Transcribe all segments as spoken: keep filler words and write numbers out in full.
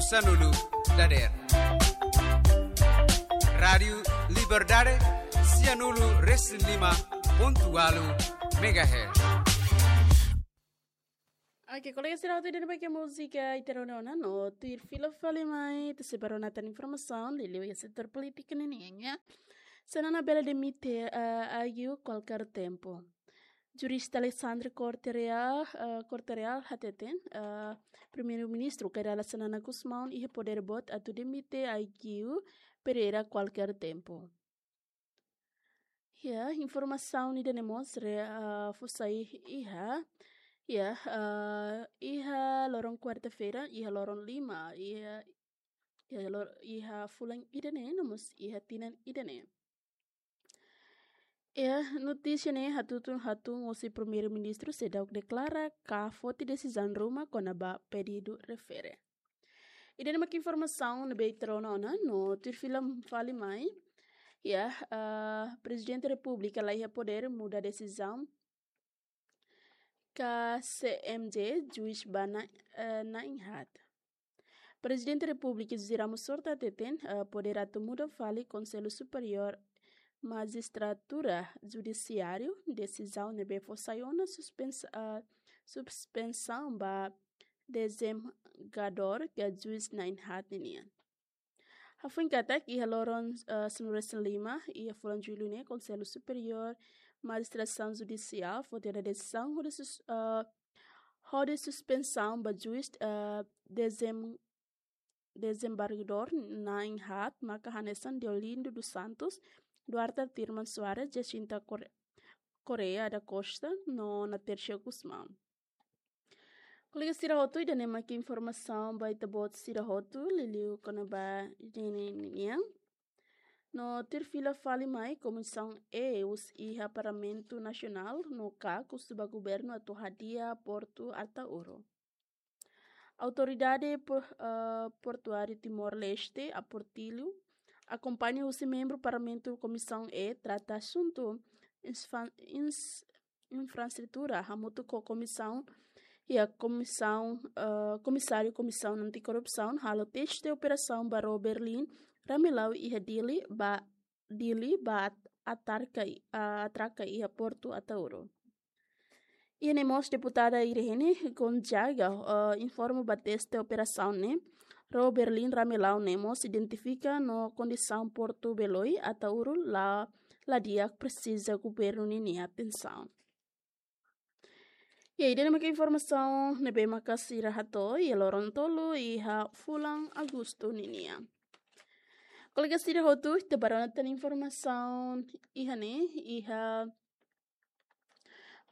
Sanulu dader. Rádiu Liberdade, sianulu resin lima pontu ualu megahertz. Oke, kolega sira hotu, ida-ne'e mak múzika ita rona ona no tuir fila fali mai, ita sei ba rona tan informasaun liuliu iha setór polítika ninian. Xanana bele demite, eh, Agiu kualkér tempu. Jurista Alexandre Corte Real, eh, Corte Real hateten, eh, Primeiru-Ministru Kay Rala Xanana Gusmão iha podér boot atu demite Agiu Pereira kualkér tempu. Ya, informasaun ida-ne'e mós re, eh, fó sai iha, ya, eh, iha loron kuarta-feira, iha loron lima, iha, iha lor-, iha fulan ida-ne'e, no mós iha tinan ida-ne'e. Ya, notísia ne'e hatun, hatun husi Primeiru-Ministru seidauk deklara ka foti desizaun ruma kona-ba pedidu refere. Ida-ne'e mak informasaun ne'ebé ita rona ona no tuir fila fali mai. Ya, eh, Prezidente Repúblika la iha podér muda desizaun K C M J, juís ba na, eh, na'in-haat. Prezidente Repúblika José Ramos Horta hateten, eh, podér atu muda fali Konsellu Superiór Majistratura Judisiáriu, desizaun ne'ebé fó sai ona suspensa-, eh, suspensaun ba dezemgadór ka juís na'in-haat ninian. Hafoin katak iha loron, eh, sanulu-resin-lima iha fulan Jullu ne'e, Konsellu Superiór Majistrasaun Judisiál foti ona desizaun hodi sus-, eh, hodi suspensaun ba juís, eh, dezem-, dezembargadór na'in-haat maka hanesan Deolindo dos Santos, Duarte Artur Irmã Soares, Jacinta Corre-, Correia da Costa no Natércia Gusmão. Kolega sira hotu, ida-ne'e mak informasaun ba ita-boot sira hotu liuliu kona-ba ida-ne'e ninian. No tuir fila fali mai, Komisaun E husi iha Parlamentu Nasionál no KAK husu ba governu atu hadi'a Portu Ataúro. Autoridade Por-, eh, Portuáriu Timor-Leste, APORTILHO, akompaña husi membru Parlamentu Komisaun E trata asuntu insfa-, ins-, infraestrutura, hamutuk ho komisaun, iha komisaun, eh, komisáriu Komisaun Antikorrupsaun, halo teste operasaun ba ró Berlin Ramelau iha Dili ba, Dili ba at-, atraka i-, ah, atraka iha Portu Ataúro. Iha ne'e mós deputada Irene Gonzaga, eh, informa ba teste operasaun ne'e, ró Berlin Ramelau ne'e mós identifika no kondisaun portu Beloi Ataúro la, la di'ak, presiza governu ninia atensaun. Ya, ida-ne'e mak informasaun ne'ebé maka sira hato'o iha loron tolu iha fulan Agostu ninian. Kolega sira hotu, ita ba rona tan informasaun iha ne'e, iha,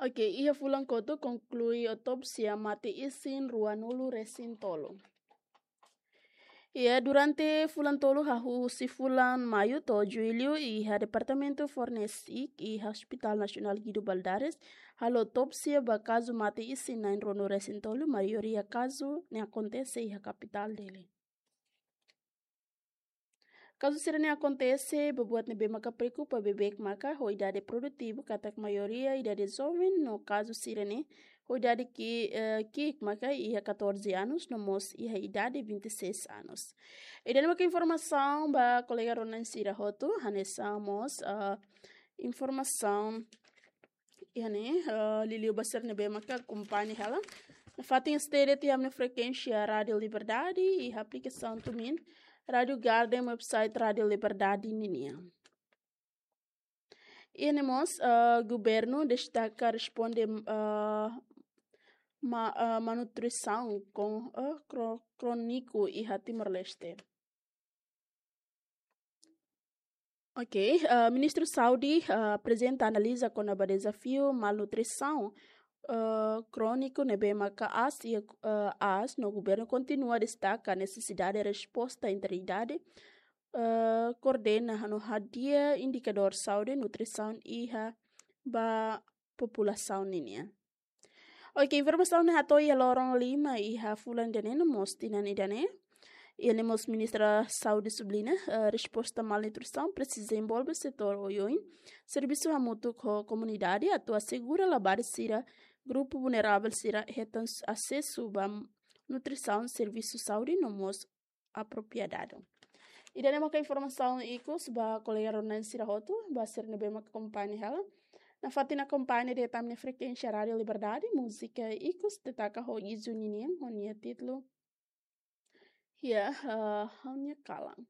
oke, iha fulan kotuk konklui otópsia mate isin ruanulu-resin-tolu. Ya, durante fulan tolu hahú husi fulan Maiu to'o Jullu iha Departamentu Forensik iha Hospital Nasionál Guido Valadares halo otópsia ba kazu mate isin na'in ruanulu-resin-tolu, maioria kazu ne'e akontese iha kapitál Dili. Kazu sira-ne'e akontese ba buat ne'ebé maka preokupa beibeik maka ho idade produtivu, katak maioria idade joven, no kazu sira-ne'e ho idade ki-, eh, ki'ik maka iha catorze anos, no mós iha idade vinte e seis anos. Ida-ne'e maka informasaun ba kolega rona sira hotu, hanesan mós, eh, informasaun iha ne'e, eh, liuliu ba sira ne'ebé maka akompaña hela. Nafatin stay tiha iha frekuénsia Rádiu Liberdade, iha aplikasaun TuneIn, Rádiu Garden, website Rádiu Liberdade ninian. Iha ne'e mós, eh, governu destaka responde, eh, ma-, eh, malnutrisaun kon-, eh, kro-, króniku iha Timor-Leste. Oke, eh, Ministru Saúde, eh, aprezenta analiza kona-ba dezafiu malnutrisaun, eh, króniku ne'ebé maka aas iha, eh, aas, no governu kontinua destaka nesesidade resposta integridade, eh, koordena no hadi'a indikadór saúde nutrisaun iha ba populasaun ninian. Oke, informasaun ne'e hato'o iha loron lima iha fulan ida-ne'e no mós tinan ida-ne'e. Iha ne'e mós Ministra Saúde subliña, eh, resposta malnutrisaun presiza envolve setór oioin, servisu hamutuk ho komunidade atu asegura labarik sira, grupu vulneravel sira hetan s-, asesu ba nutrisaun, servisu saúde no mós apropriadadu. Ida-ne'e maka informasaun ikus ba kolega rona-na'in sira hotu, ba sira ne'ebé maka akompaña hela nafatin akompaña diretu ami-nia frekuénsia Rádiu Liberdade, múzika ikus destaka ho Izuni nian, ho nia títulu Iha, eh, Ha'u-nia Kalan.